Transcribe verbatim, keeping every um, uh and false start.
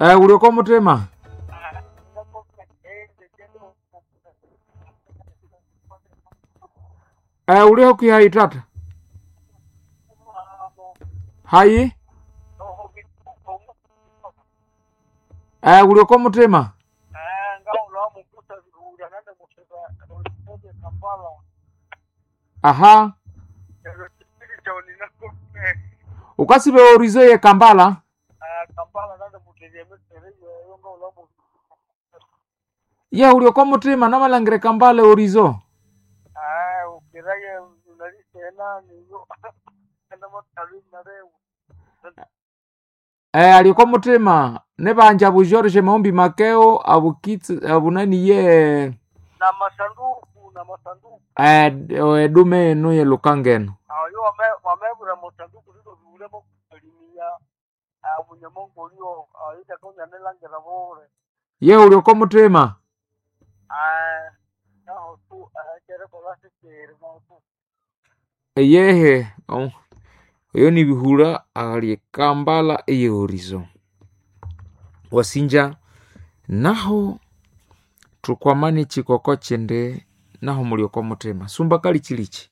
Eh, uli oko mutima Eh, uli hakuhi hayi tata hayi Eh, uli oko mutima aha ukasibe orizo ye kambala ye uli oko mutima namalangire kambala orizo Eh, ali oko mutima nebanja bu George maombi makeo abukitsi abunani ye na masanduku na masanduku eh, edume eno ye lukangeno ayo wamebura masanduku lilo biulemo kulimia abunyamongolio ayitakonyanelangira bure ye uli oko mutima naho tu acherekola sikiri naho eyehe oh. Oyo ni bihula ali kambala eye orizo wasinja naho tukwamani chikoko chende naho muli oko mutima sumba kali chilichi.